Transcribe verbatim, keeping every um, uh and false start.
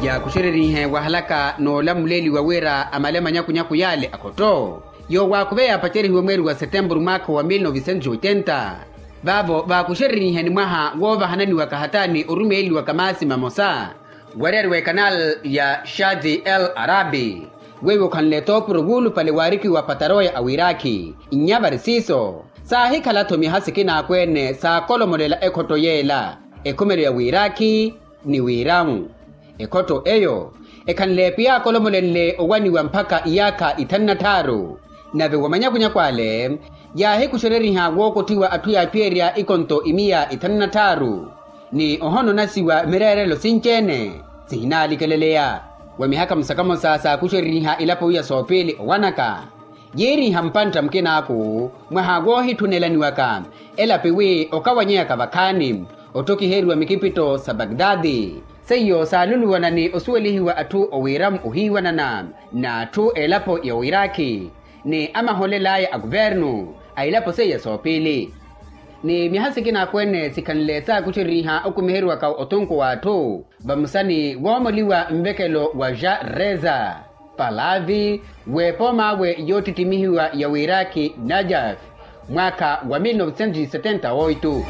Yaakuxererihe wahalaka n'olamuleeliwa wira amale manyakunyaku yaale akhotto, yoowaakuve yaapacerihiwe mweeri wa setempuru mwaakha wa mil novicentos oitenta. Vaavo vaakuxererihe ni mwaha woovahananiwaka hata ni orumeeliwaka maasi mamosa wareeriwa ekanal ya shadi el arabi, weiwo khanle toopuro wuulupale waarikiwa pataroya a wirakhi. Nnya vari siiso saahikhala-tho miha sikina akweene saakolomolela ekhotto yeela, ekhumelo ya wirakhi ni wiramu. Ekhotto eyo ekhanle piyaakholomolenle owaniwa mpakha iyaakha ithanu na tthaaru. Nave wa manyakunyaku ale yaahikuxereriha wookottiwa atthu yaaphiyerya ikonto imiya ithanu na tthaaru, ni ohononasiwa mireerelo sinci-ene sihinaalikeleleya. Wa mihakha musakamosa saakuxereriha elapo iya soopiili owanaka, yiiriha mpantta mukinaaku mwaha woohitthunelaniwaka elapi wi okawanyeyaka vakhaani otthokiheriwa mikipitto sa bagdadi. Seiyo saaluluwana ni osuwelihiwa atthu owiiramu ohiiwanana n'atthu elapo ya wirakhi ni amaholel'aya a kuvernu a elapo seiya soopiili. Ni miha sikina akweene sikhanle saakuxereriha okumiheriwaka otunku w'atthu vamosa ni woomoliwa nvekelo wa ja reza palavi w'epoom'awe yoottittimihiwa ya wirakhi najaf mwaakha wa mil novicentos setenta oito.